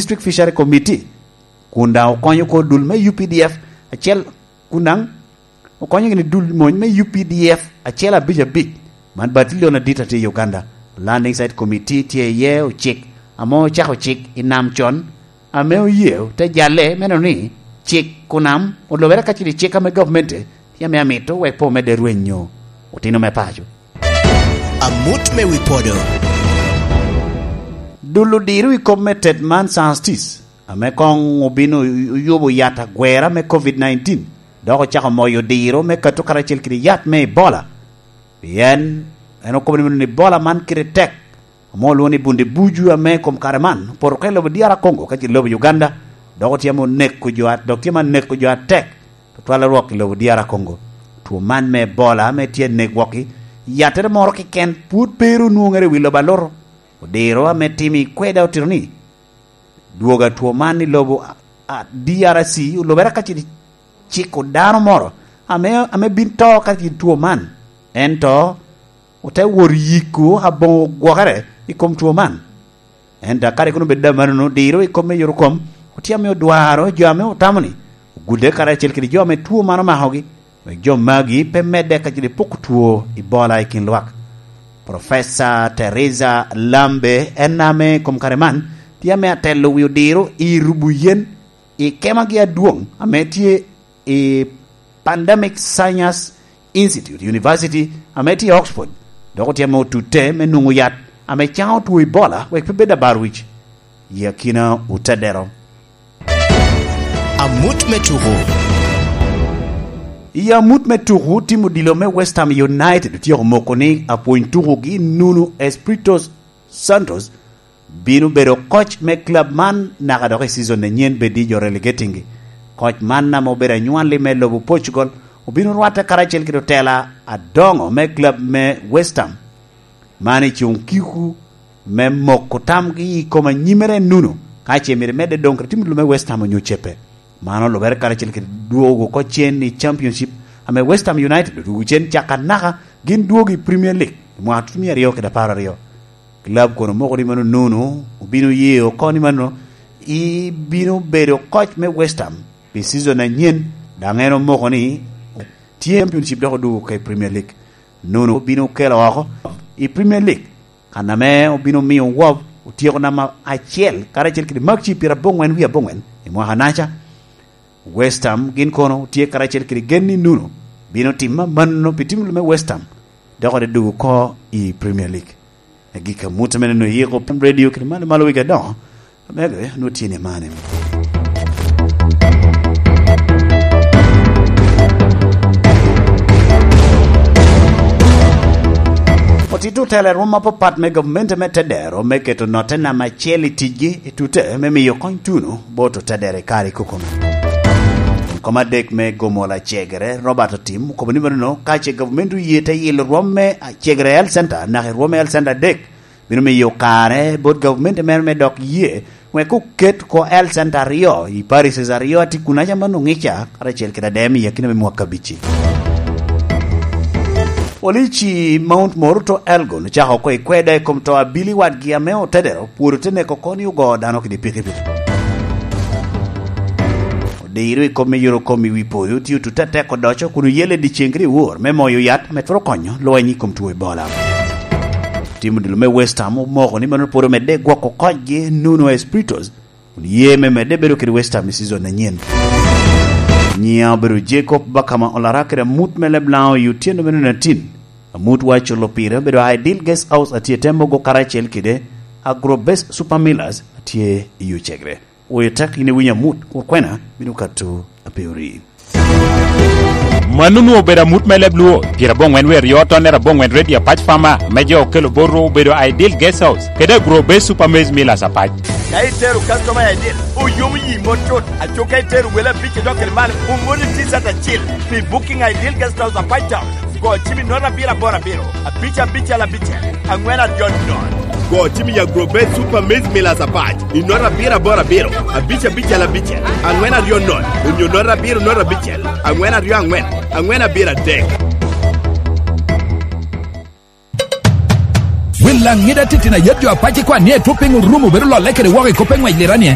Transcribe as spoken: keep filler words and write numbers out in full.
District Fishery Committee, kun daŋ okonyo oko dul me U P D F acel, kun daŋ okonyo gini dul mony me U P D F acel abic abic, man batilion adit atye i Uganda. Landing Site Committee tye iye ocik ame ocako cik i nam con, ame oye te jalle me neno ni cik kunam olobere ka cito i cik ame gavumenti tye ame amito wek pe omedde rwenyo otino me paco. Amut me wi podo. Dul odiro i kop me tet man Santis, ame koŋ obino oyubo yat agwera me covid nineteen, dok ocako moyo odiro me kato karacel kede yat me Ebola. Pien en okobo ni, ni Ebola man kite tek, ame olwoŋo ni Bundi Buju, ame i kom kare man opoto oko i lobo D R Congo, ka ce lobo Uganda, dok otye ame oneko jo at-, dok tye ame aneko jo atek, tutwal arwok i lobo D R Congo. Two man me Ebola ame tye anek wok-ki, yattere moro keken pwod pe ru onwoŋere i wi lobo alutu. Odiro ame timo i kweda otito ni, dwogo a two man i lobo a, a, D R C olubere ka cito ciko dano moro ame, ame bin to ka cito two man. Ento ote wot yiko aboŋo gwokere i kom two man. Ento akadi kun obed amannono, diro i kom me yot kom otye ame odwaro jo ame otamo ni ogudde karacel kede jo ame two man omakogi, wek jo magi pe medde ka cito poko two Ebola i kin lwak. Professor Teresa Lambe, en ame i kom kare man tye ame atelo wi odiro i rubo yen i kemagi adwoŋ ame tye i Pandemic Science Institute, University ame tye i Oxford, dok otye ame otutte me nwoŋo yat ame caŋo two Ebola wek pe bed abar wic i akina otedero. Amut me tuko. I amut me tuko, tim odilo me West Ham United otyeko moko ni apwony tukogi Nuno Espirito Santos bino bedo koc me club man naka dok i season anyen bed i jo relegating-gi. Koc man ame obedo anywalli me lobo Portugal obino rwatte karacel kede otela adoŋo me club me West Ham, man i cuŋ kiko me moko tamgi i kom anyimere Nuno, ka ce myero emedde doŋ kede tim lume West Ham onyo cepe. Man olubere karacel kede dwogo oko cen i Championship, ame West Ham United odwogo cen caka naka gin dwogo i Premier League i mwaka tutumia aryo kede apar aryo. Club kono moko ni mano Nuno obino ye oko ni mano i bino bedo koc me West Ham pi season anyen, daŋ en omoko ni tye Championship dok odwogo ka i Premier League. Nuno obino kelo oko i Premier League, kan ame obino miyo Wolves otyeko namba acel karacel kede makci pyeraboŋwen wie aboŋwen i mwaka naca. West Ham gin kono tye karacel kede gen ni Nuno bino timo amanno pi tim lume West Ham, dok ode dwogo oko i Premier League. Agikki amut ame neno yiko pien radio kede malo malo wigi adoŋo, omego nwoŋo tye ni mane. Otito otelo i rwom apapat me gavumenti me tedero me keto notte namba acel i ticgi i tute me miyo kony tuno bot otedero i kare i kokono. Kom adek me gomo lacegere, Robert Otim, okobo ni mano ka ce gavumenti oye te yilo rwom me cegere Health Center naka i rwom me Health Center adek, bino miyo kare bot gavumenti mere me dok ye wek oket oko Health Center aryo i parishes aryo a tye kunaca man oŋica karacel kede adem i akina me mwaka abic-ci. Polici Mount Moruto Elgon ocako oko i kweda i kom to abili wadgi ame otedero pwod ote neko oko ni ogo dano kede pikipiki. Odiro i kom me yuro kom i wi poyo tye otutte atek odoco kun oyelle dyeceŋ kede i wor me moyo yat ame twero konyo lweny i kom two Ebola. Tim odilo me West Ham omoko ni mano pwod omedde gwoko kocgi Nuno Espiritos, kun ye me medde bedo kede West Ham i season anyen. Nyiŋa obedo Jacob Bakama Olara kede amut me Leblango i otyeno me nino atin. Amut wa culo pire obedo Ideal Guest House atye te mogo karacel kede Agro Best Super Millers atye i Ocegre. Oyo tek in iwinyo amut, kur kwena bino kato ape ori. Mano onwoŋo obedo amut me leb Luo, pyeraboŋwen wie aryo tonnere aboŋwen redio Apac Farmer, me jo okelo bot rwo obedo Ideal Guest House, kede Agro Base Super Maize Millers Apac. Ka itero customer i Ideal, oyomo yi mot tut. Aco ka itero wele abic idok kede malo, omoni T-shirt acil pi booking Ideal Guest House Apac Town. Go cim i nota abiro aboro abiro, abic abicel abicel, aŋwen aryo nono. Go cim i Agrobet Super Maize Millers Apac i nota abiro aboro abiro, abic abicel abicel, aŋwen aryo nono, onyo nota abiro nota abicel, aŋwen aryo aŋwen, aŋwen abiro adek. Wel aŋida titino ayet jo apac ikwan ni etwo piny orumo bedo lolle kede woko i kop me ŋwec liranie.